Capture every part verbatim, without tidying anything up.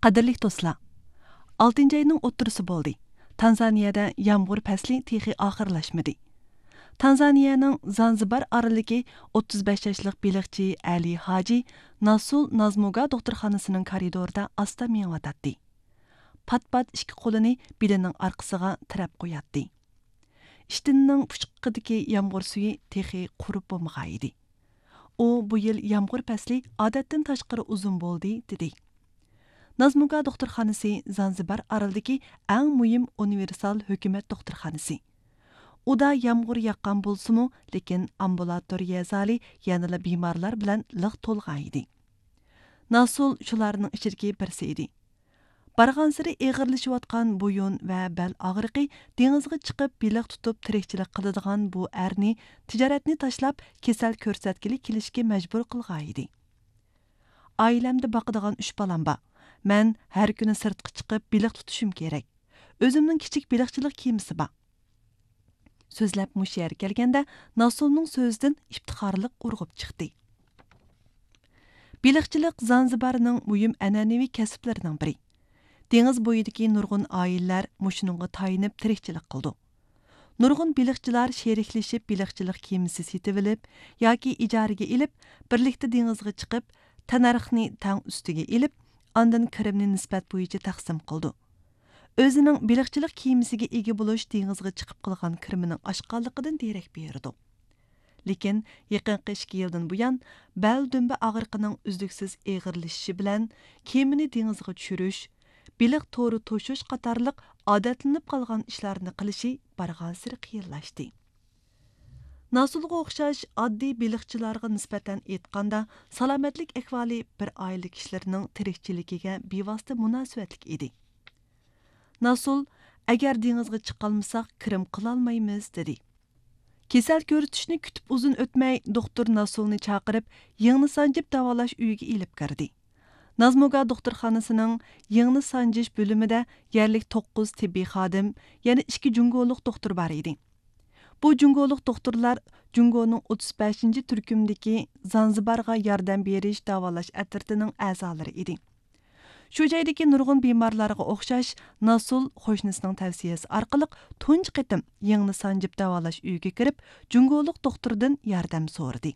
قەدىرلىك دوستلار، ئالتىنچى ئاينىڭ ئوتتۇرىسى بولدى. تانزانىيەدە يامغۇر پەسلى تېخى ئاخىرلاشمىدى. تانزانىيەنىڭ زانزىبار ئارىلىدىكى ئوتتۇز بەش ياشلىق بېلىقچى ئەلى ھاجى ناسۇل نازمۇگا دوختۇرخانىسىنىڭ كارىدورىدا ئاستا مېڭىۋاتاتتى. پات-پات ئىككى قولىنى بېلىنىڭ ئارقىسىغا تىرەپ قوياتتى. ئىشتىنىنىڭ پۇچىقىدىكى يامغۇر سۈيى تېخى قۇرۇپ بولمىغانىدى. ئۇ بۇ يىل يامغۇر پەسلى ئادەتتىن تاشقىرى ئۇزۇن بولدى، دېدى. نازمۇگا دوختۇرخانىسى زانزىبار ئارىلىدىكى ئەڭ مۇھىم ئۇنىۋېرسال ھۆكۈمەت دوختۇرخانىسى. ئۇدا يامغۇر ياغقان بولسىمۇ، لېكىن ئامبۇلاتورىيە زالى يەنىلا بىمارلار بىلەن لىق تولغان ئىدى. ناسۇل شۇلارنىڭ ئىچىدىكى بىرسى ئىدى. بارغانسېرى ئېغىرلىشىۋاتقان بويۇن ۋە بەل ئاغرىقى دېڭىزغا چىقىپ بېلىق تۇتۇپ تىرىكچىلىك قىلىدىغان بۇ ئەرنى تىجارەتنى تاشلاپ كېسەل كۆرسەتكىلى كېلىشكە مەجبۇر قىلغانىدى. ئائىلەمدە باقىدىغان ئۈچ بالام بار. مەن ھەر كۈنى سىرتقا چىقىپ بېلىق تۇتۇشۇم كېرەك. ئۆزۈمنىڭ كىچىك بېلىقچىلىق كېمىسى بار. سۆزلەپ مۇشۇ يەرگە كەلگەندە، ناسۇلنىڭ سۆزىدىن ئىپتىخارلىق ئۇرغۇپ چىقتى. بېلىقچىلىق زانزىبارنىڭ مۇھىم ئەنئەنىۋى كەسىپلىرىنىڭ بىرى. دېڭىز بويىدىكى نۇرغۇن ئائىلىلەر مۇشۇنىڭغا تايىنىپ تىرىكچىلىك قىلىدۇ. نۇرغۇن بېلىقچىلار شېرىكلىشىپ بېلىقچىلىق كېمىسى سېتىۋېلىپ ياكى ئىجارىگە ئېلىپ، بىرلىكتە دېڭىزغا چىقىپ، تەننەرخنى تەڭ ئۈستىگە ئېلىپ، ئاندىن كىرىمنى نىسبەت بويىچە تەقسىم قىلىدۇ. ئۆزىنىڭ بېلىقچىلىق كېمىسىگە ئىگە بولۇش دېڭىزغا چىقىپ قىلغان كىرىمىنىڭ ئاشقانلىقىدىن دېرەك بېرىدۇ. لېكىن يېقىنقى ئىككى يىلدىن بۇيان، بەل دۈمبە ئاغرىقىنىڭ ئۈزلۈكسىز ئېغىرلىشىشى بىلەن، كېمىنى دېڭىزغا چۈشۈرۈش، بېلىق تورى توشۇش قاتارلىق ئادەتلىنىپ قالغان ئىشلارنى قىلىشى بارغانسېرى قىيىنلاشتى. ناسۇلغا ئوخشاش ئاددىي بېلىقچىلارغا نىسبەتەن ئېيتقاندا، سالامەتلىك ئەھۋالى بىر ئائىلە كىشىلىرىنىڭ تىرىكچىلىكىگە بىۋاسىتە مۇناسىۋەتلىك ئىدى. ناسۇل، «ئەگەر دېڭىزغا چىقالمىساق، كىرىم قىلالمايمىز» دېدى. كېسەل كۆرسىتىشنى كۈتۈپ ئۇزۇن ئۆتمەي، دوختۇر ناسۇلنى چاقىرىپ، يىڭنە سانجىپ داۋالاش ئۆيىگە ئېلىپ كىردى. نازمۇگا دوختۇرخانىسىنىڭ يىڭنە سانجىش بۆلۈمىدە يەرلىك توققۇز تېببىي خادىم، يەنە ئىككى جۇڭگولۇق دوختۇر بار ئىدى. بۇ جۇڭگولۇق دوختۇرلار جۇڭگونىڭ ئوتتۇز بەشىنچى تۈركۈمدىكى زانزىبارغا ياردەم بېرىش داۋالاش ئەترىتىنىڭ ئەزالىرى ئىدى. شۇ جايدىكى نۇرغۇن بىمارلارغا ئوخشاش، ناسۇل قوشنىسىنىڭ تەۋسىيەسى ئارقىلىق تۇنجى قېتىم يىڭنە سانجىپ داۋالاش ئۆيىگە كىرىپ، جۇڭگولۇق دوختۇردىن ياردەم سورىدى.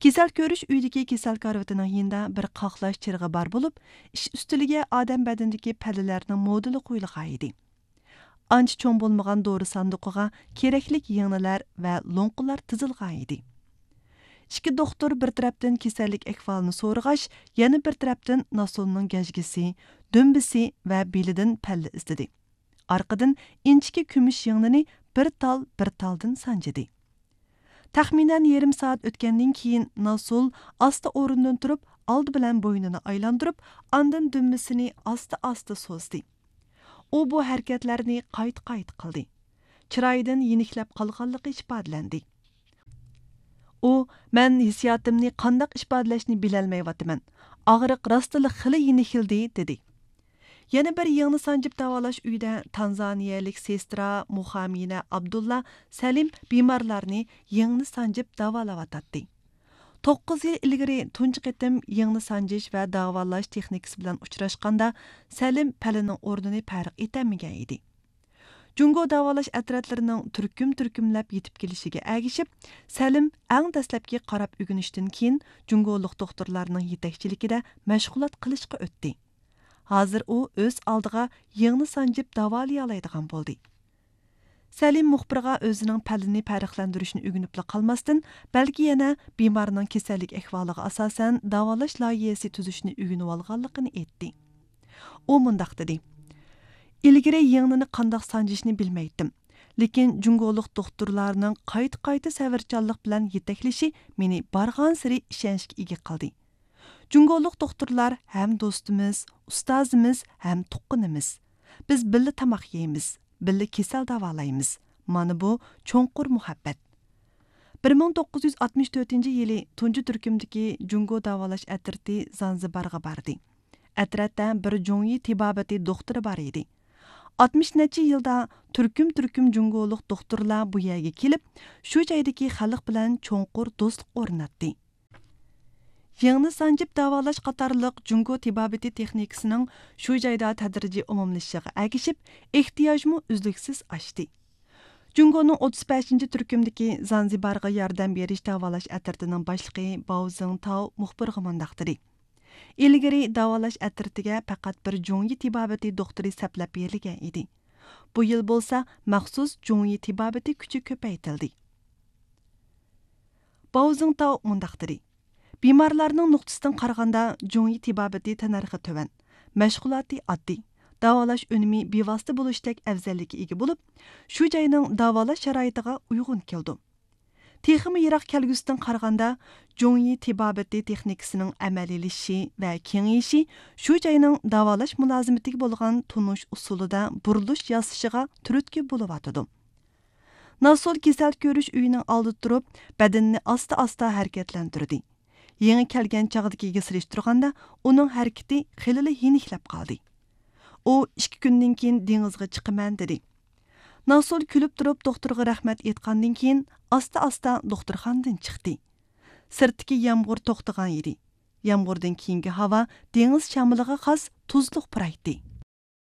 كېسەل كۆرۈش ئۆيىدىكى كېسەل كارىۋىتىنىڭ يېنىدا بىر قاقلاش چىرىغى بار بولۇپ، ئىش ئۈستىلىگە ئادەم بەدىنىدىكى پەللىلەرنىڭ مودېلى قويۇلغانىدى. ئانچە چوڭ بولمىغان دورا ساندۇقىغا كېرەكلىك يىڭنىلەر ۋە لوڭقىلار تىزىلغانىدى. ئىككى دوختۇر بىر تەرەپتىن كېسەللىك ئەھۋالىنى سورىغاچ، يەنە بىر تەرەپتىن ناسۇلنىڭ گەجگىسى، دۈمبىسى ۋە بېلىدىن پەللە ئىزدىدى. ئارقىدىن ئىنچىكە كۈمۈش يىڭنىنى بىر تال، بىر تالدىن سانجىدى. تەخمىنەن يېرىم سائەت ئۆتكەندىن كېيىن، ناسۇل ئاستا ئورنىدىن تۇرۇپ، ئالدى بىلەن بوينىنى ئايلاندۇرۇپ، ئاندىن دۈمبىسىنى ئاستا-ئاستا سوزدى. ئۇ بۇ ھەرىكەتلەرنى قايتا-قايتا قىلدى. چىرايىدىن يېنىكلەپ قالغانلىقى ئىپادىلەندى. ئۇ، «مەن ھېسسىياتىمنى قانداق ئىپادىلەشنى بىلەلمەيۋاتىمەن. ئاغرىق راستلا خېلى يېنىكلىدى» دېدى. يەنە بىر يىڭنە سانجىپ داۋالاش ئۆيىدە تانزانىيەلىك سېسترا مۇخامىنە ئابدۇللا سەلىم بىمارلارنى يىڭنە سانجىپ داۋالاۋاتاتتى. توققۇز يىل ئىلگىرى تۇنجى قېتىم يىڭنە سانجىش ۋە داۋالاش تېخنىكىسى بىلەن ئۇچراشقاندا، سەلىم پەلىنىڭ ئورنىنى پەرق ئېتەلمىگەن ئىدى. جۇڭگو داۋالاش ئەترەتلىرىنىڭ تۈركۈم-تۈركۈملەپ يېتىپ كېلىشىگە ئەگىشىپ، سەلىم ئەڭ دەسلەپكى قاراپ ئۆگىنىشتىن كېيىن جۇڭگولۇق دوختۇرلارنىڭ يېتەكچىلىكىدە مەشغۇلات قىلىشقا ئۆتتى. ھازىر ئۇ ئۆز ئالدىغا يىڭنە سانجىپ داۋالىيالايدىغان بولدى. سەلىم مۇخبىرغا ئۆزىنىڭ پەللىنى پەرقلەندۈرۈشنى ئۆگىنىپلا قالماستىن، بەلكى يەنە بىمارنىڭ كېسەللىك ئەھۋالىغا ئاساسەن داۋالاش لايىھەسى تۈزۈشنى ئۆگىنىۋالغانلىقىنى ئېيتتى. ئۇ مۇنداق دېدى: «ئىلگىرى يىڭنىنى قانداق سانجىشنى بىلمەيتتىم. لېكىن جۇڭگولۇق دوختۇرلارنىڭ قايتا-قايتا سەۋرچانلىق بىلەن يېتەكلىشى مېنى بارغانسېرى ئىشەنچكە ئىگە قىلدى. جۇڭگولۇق دوختۇرلار ھەم دوستىمىز، ئۇستازىمىز ھەم تۇغقىنىمىز. بىز بىللە تاماق يەيمىز، بىللە كېسەل داۋالايمىز. مانا بۇ چوڭقۇر مۇھەببەت.» بىر مىڭ توققۇز يۈز ئاتمىش تۆتىنچى يىلى تۇنجى تۈركۈمدىكى جۇڭگو داۋالاش ئەترىتى زانزىبارغا باردى. ئەترەتتە بىر جۇڭيى تېبابىتى دوختۇرى بار ئىدى. ئاتمىش نەچچە يىلدا تۈركۈم-تۈركۈم جۇڭگولۇق دوختۇرلار بۇ يەرگە كېلىپ، شۇ جايدىكى خەلق بىلەن چوڭقۇر دوستلۇق ئورناتتى. يىڭنە سانجىپ داۋالاش قاتارلىق جۇڭگو تېبابىتى تېخنىكىسىنىڭ شۇ جايدا تەدرىجىي ئومۇملىشىشىغا ئەگىشىپ، ئېھتىياجمۇ ئۈزلۈكسىز ئاشتى. جۇڭگونىڭ ئوتتۇز بەشىنچى تۈركۈمدىكى زانزىبارغا ياردەم بېرىش داۋالاش ئەترىتىنىڭ باشلىقى باۋ زىڭتاۋ مۇخبىرغا مۇنداق دېدى: ئىلگىرى داۋالاش ئەترىتىگە پەقەت بىر جۇڭيى تېبابىتى دوختۇرى سەپلەپ بېرىلگەن ئىدى. بۇ يىل بولسا مەخسۇس جۇڭيى تېبابىتى كۈچى كۆپەيتىلدى. باۋ زىڭتاۋ مۇنداق دېدى: بىمارلارنىڭ نۇقتىسىدىن قارىغاندا، جۇڭيى تېبابىتى تەننەرخى تۆۋەن، مەشغۇلاتى ئاددىي، داۋالاش ئۈنۈمى بىۋاسىتە بولۇشتەك ئەۋزەللىككە ئىگە بولۇپ، شۇ جاينىڭ داۋالاش شارائىتىغا ئۇيغۇن كېلىدۇ. تېخىمۇ يىراق كەلگۈسىدىن قارىغاندا، جۇڭيى تېبابىتى تېخنىكىسىنىڭ ئەمەلىيلىشىشى ۋە كېڭىيىشى شۇ جاينىڭ داۋالاش مۇلازىمىتىگە بولغان تونۇش ئۇسۇلىدا بۇرۇلۇش ياسىشىغا تۈرتكە بولۇۋاتىدۇ. ناسول كېسەل كۆرۈش ئۆيىنىڭ ئالدىدا تۇرۇپ، بەدىنىنى ئاستا-ئاستا ھەرىكەتلەندۈردى. يېڭى كەلگەن چاغدىكىگە سېلىشتۇرغاندا، ئۇنىڭ ھەرىكىتى خېلىلا يېنىكلەپ قالدى. ئۇ ئىككى كۈندىن كېيىن دېڭىزغا چىقىمەن دېدى. ناسول كۈلۈپ تۇرۇپ دوختۇرغا رەھمەت ئېيتقاندىن كېيىن، ئاستا-ئاستا دوختۇرخانىدىن چىقتى. سىرتتىكى يامغۇر توختىغان ئىدى. يامغۇردىن كېيىنكى ھاۋا دېڭىز شامىلىغا خاس تۇزلۇق پۇرايتتى.